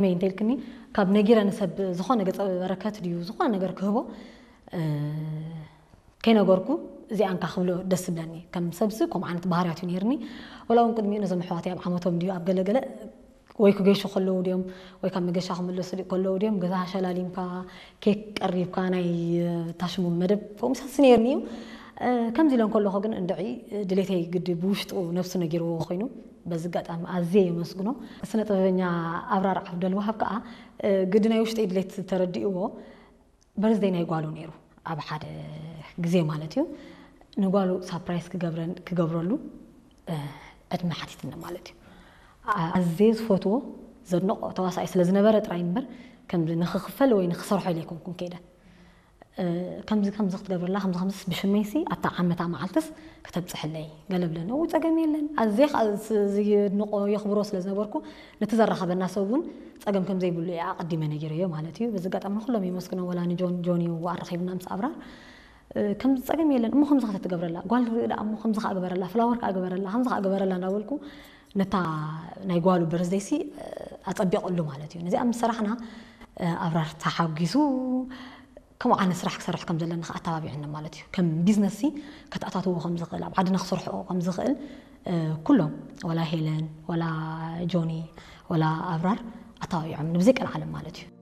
መይ እንተልክኒ ካብ ነጊረ ንሰብ ዝኾነ ገጸ በረከት ድዩ ዝኾነ ነገር ክህቦ ከይነገርኩ እዚኣ እንካ ክብሎ ደስ ዝብለኒ። ከም ሰብሲ ከምኡ ዓይነት ባህርያት እዩ ነይርኒ። ወላ እውን ቅድሚኡ ነዞም ኣሕዋተይ ኣብ ዓመቶም ድዩ ኣብ ገለገለ ወይ ክገሹ ከለዉ ድዮም ወይ ካብ መገሻ ክምለሱ ከለዉ ድዮም ገዛ ሸላሊምካ ኬክ ቀሪብካ ናይ ታሽሙ መደብ ከምኡ ሰሲ ነይርኒ እዩ። ከምዚ ኢለ እንከለኹ ግን እንድዒ ድሌተይ ግዲ ብውሽጡ ነብሱ ነጊርዎ ኮይኑ በዚ ኣጋጣሚ ኣዝየ የመስግኖ። ስነ ጥበበኛ ኣብራር ዓብደልዋሃብ ከዓ ግዲ ናይ ውሽጠይ ድሌት ተረዲእዎ በርዝደይ ናይ ጓሉ ነይሩ ኣብ ሓደ ግዜ ማለት እዩ ንጓሉ ሳፕራይዝ ክገብረን ክገብረሉ ዕድመ ሓቲትኒ ማለት እዩ። ኣዝየ ዝፈትዎ ዘድንቆ ተዋሳኢ ስለ ዝነበረ ጥራይ እምበር ከም ንክኽፈል ወይ ንክሰርሖ ኢለ ኣይኮንኩን ከይደ። ከምዚ ከምዚ ክትገብርላ ከምዚ ከምዚ ብሽመይሲ ኣብታ ዓመታ መዓልትስ ከተብፅሕለይ ገለ ብለኒ። እው ፀገም የለን። ኣዝየ ከዓ ዝድንቆ የኽብሮ ስለ ዝነበርኩ ነቲ ዘራኸበና ሰብ እውን ፀገም ከም ዘይብሉ እየ ኣቐዲመ ነጊረዮ ማለት እዩ። በዚ ኣጋጣሚ ንኩሎም የመስግኖም። ወላ ንጆን ጆኒ እዋ ኣረኺብና ምስ ኣብራር ከምዚ ፀገም የለን እሞ ከምዚ ከተትገብረላ ጓል ርኢ ደኣ እሞ ከምዚ ከዓ ግበረላ ፍላወር ከዓ ግበረላ ከምዚ ከዓ ግበረላ እንዳበልኩ ነታ ናይ ጓሉ በርዝደይሲ ኣፀቢቐሉ ማለት እዩ። ነዚኣ ምስ ሰራሕና ኣብራር ተሓጒሱ ከምኡ ዓይነት ስራሕ ክሰርሕ ከም ዘለና ከዓ ኣተባቢዑኒ ማለት እዩ። ከም ቢዝነስ ሲ ከተኣታትዎ ከም ዝኽእል ኣብ ዓድና ክሰርሕኦ ከም ዝኽእል ኩሎም ወላ ሄለን ወላ ጆኒ ወላ ኣብራር ኣተባቢዖም ንብዘይ ቀልዓለም ማለት እዩ።